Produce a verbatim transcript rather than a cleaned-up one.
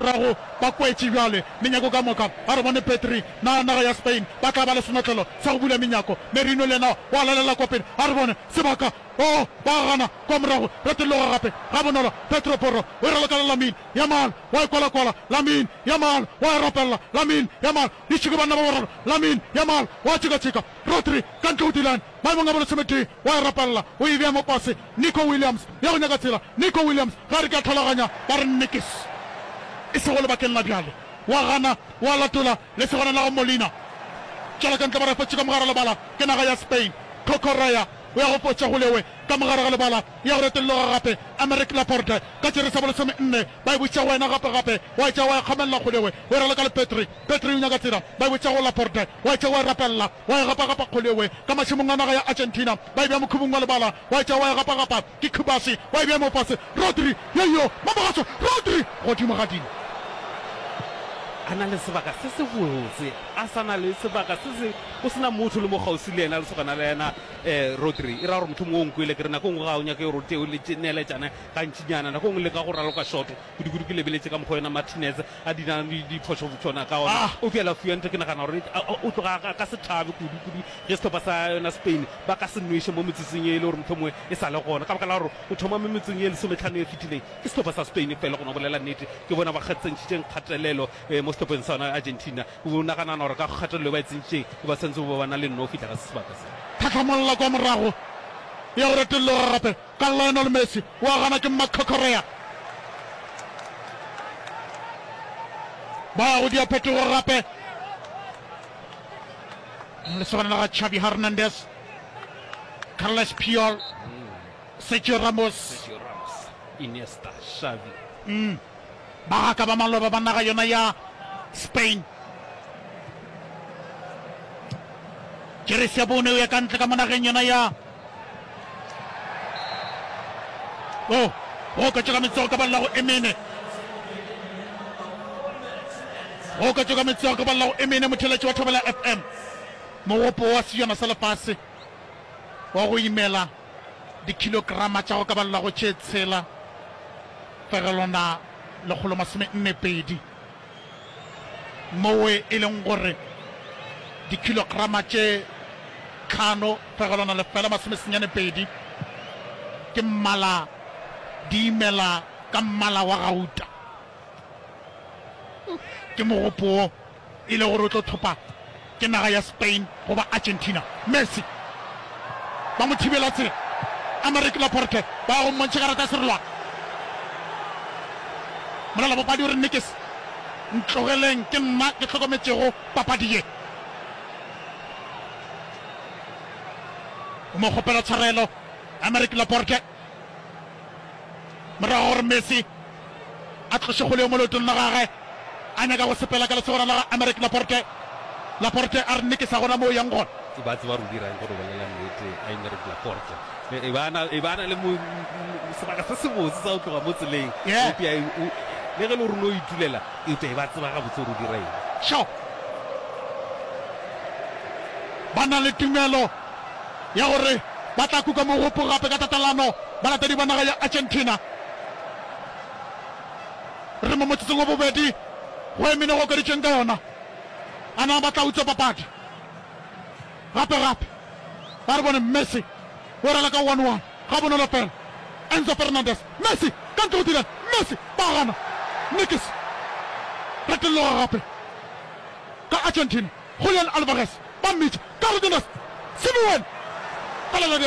Morago ba kwetše bjale menyako ka moka. A re bone Pedri na naga ya Spain ba tla ba le senotlelo sa go bula menyako. Merino le yena wa lalela kwa pele. A re bone sebaka. Oh, ba gana kwa morago. Retologa gape gabonolo. Pedro Porro o e raloka le Lamine Yamal. Wa e kwalakwala. Lamine Yamal wa e rapella. Lamine Yamal. Ditšhiko banna ba bararo. Lamine Yamal wa tšekatšeka. Rodri ka ntle go Dylan. Maemong a bolesometee wa e rapella. O e bea mo pase. Nico Williams ya go nyaka tsela. Nico Williams ge a re ke a tholaganya ba re Nickis. E sego lebakeng la bjale. Wa gana, wa latola lesogana la go Molina. Tšwela ka ntle ba re fotše ka mogare lebala ke naga ya Spain. Cucurella o ya go fotša go lewe ka mogare ga lebala ya go retolloga gape. Aymeric Laporte ka jeresi ya bolesome nne ba e botša go wena gape gape wa e tšea wa e kgamelela go lewe o e raloka le Pedri. Pedri o nyaka tsela ba e botša go Laporte wa e tšea wa e rapella wa e gapa-gapa kgolewe ka mašemong a naga ya Argentina ba e bea mokhubung wa lebala wa e tšea wa e gapa-gapa ke Cubarsi wa e bea mo fase Rodri yeyo Mamogaso Rodri godimo ga dino. A na le sebaka se sebotse, a sa na le sebaka se se go se na motho le mo kgauswi le yena, lesogana la yena um Rodri. E ra gore mohlomongwe o nkwele ke re nako e nngwe ga o nyake gore o tee o neeletšane gantšinyana, nako e nngwe leka go raloka short kudu-kudu. Ke lebeletše ka mokgwa yena Martinez a dira diphošo tšona ka ona, Ah! eupša Lafuente ke nagana gore o tloga a ka se thabe kudu-kudu ge sehlopha sa yona Spain ba ka se nweše mo metsotsong ye e le gore mohlomongwe e sa le gona, ka baka la gore o thoma mo metsotsong ye lesometlhano e fetileng ke sehlopha sa Spain fela. Go no bolela nnete, ke bona ba tsentšhitšeng kgatelelo mo sehlopheng sa yona Argentina. O naganana gore ka kgatelelo e ba e tsentšitšeng ba swanetše go ba ba na le nno go fihla ka se sebaka se. Tlhatlhamolla kwa morago ya go retolloga gape ka Lionel Messi wa gana ke Marc Cucurella. Ba ya go dia phetogo gape lesogana la ga Xavi Hernandez, Carles Puyol, Sergio Ramos, Sergio Ramos, Iniesta, Xavi. Mm. Bagaka ba maloba ba naga yona ya Spain. Jeresi ya bone o ya ka ntle ka mo nageng yona ya o go oketšwa ka metsogo ka balela go emene go oketšwa ka metsogo ka balela go emene motheletši wa Thobela F M mogopo wa sejana sa lefase wa go imela dikhilograma tša go ka balela go tše tshela fegelwana lekgolo masome nne pedi mowe e leng gore dikhilograma tše tlhano fegelwana lefela masome senyane pedi ke mmala di imela ka mmala wa gauta. Ke mogopo wo e le gore o tlo thopa ke naga ya Spain goba Argentina. Messi ba mo thibela tsela. Aymeric Laporte ba ya go mmontšha karata ya serolwana. Molalabapadi o re Nikis, ntlogeleng ke nna ke hlokometšego papadi ye. O mo kgopela tshwarelo Aymeric Laporte morago gore Messi a tloše kgole yo mo leotong la gagwe a nyaka go sepela ka lesogana la ga Aymeric Laporte. Laporte a re Nikis ga gona mo o yang gona. Ba tseba gore o dira eng go no bolela nnete Aymeric Laporte. E ba na e ba na le sebaka se sebotse sa go tloga mo tseleng. Yeah. Eupša le ge le gore o no itulela, eupša e ba tseba gabotse gore o dira eng. Sure. Ba na le tumelo ya gore ba tla kuka mogopo gape ka tatelano balatedi ba naga ya Argentina. Re mo motsotsong wa bobedi go emene go okeditšweng ka yona. A na ba tla utswa papadi gape gape? Ba re bone Messi o rala ka one one ga bonolo fela. Enzo Fernandez, Messi ka ntle go Dylan, Messi ba gana. Nikis retolloga gape ka Argentina. Julian Alvarez ba mmitša, Carlos Simeone ka lela